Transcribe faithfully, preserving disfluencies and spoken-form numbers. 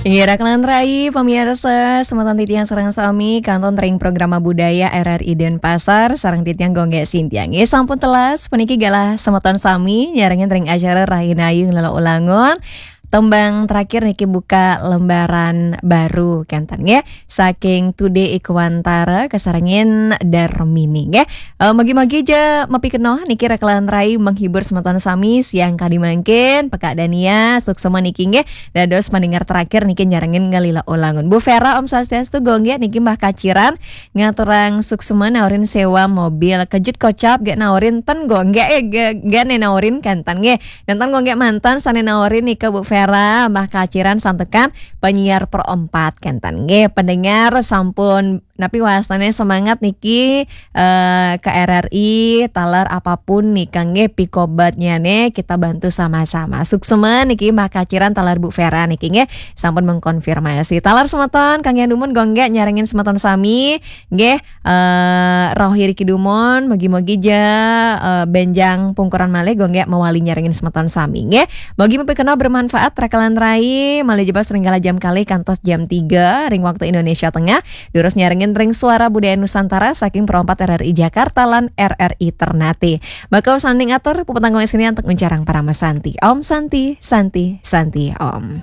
Inggih, raka lan rai, pamiarsa, semeton titiang sareng sami, kantun ring Programa Budaya R R I Denpasar, sareng titiang Gung Gek Sintiang. Inggih, sampun telas, puniki galah semeton sami, nyarengin ring acara Rahinayu Nglila Ulangun. Tembang terakhir niki buka lembaran baru, kenten nggih. Saking Tude Ikwantara, kasarengin Darmini, nggih. Eh, mugi-mugi ja mapikenoh niki raka lan rai menghibur semeton sami siang kadi mangkin, Pekak Dania, suksma niki nggih. Dados pendengar terakhir niki nyarengin Nglila Ulangun. Bu Vera, Om Swastiastu, Gung Gek niki Mbah Kaciran, ngaturang suksma naurin sewa mobil. Kejut kocap gek naurin ten Gung Gek, eh, ge-, gek naurin kenten nggih. Nenten Gung Gek manten sane naurin nika Bu Vera, Mbah Kaciran santukan penyiar Pro empat kenten nggih. Pendengar sampun napi wastane semangat niki, eh, ke R R I, taler apapun nika nggih pikobetnyane kita bantu sama-sama. Suksma niki Mbah Kaciran taler Bu Vera niki nggih sampun mengkonfirmasi. Taler semeton kangge dumun Gung Gek nyarengin semeton sami nggih, eh, rauh iriki dumun, mugi-mugi ja, eh, benjang pungkuran malih Gung Gek mawali nyarengin semeton sami nggih. Mugi mapikenoh bermanfaat raka lan rai, malih jebos ring galah jam kalih kantos jam tiga ring waktu Indonesia Tengah. Durus nyarengin ring Suara Budaya Nusantara saking Pro empat R R I Jakarta lan R R I Ternate. Bakal sanding atur, puputang Gung Gek antuk nguncarang parama santi. Om Santi, Santi, Santi, Om.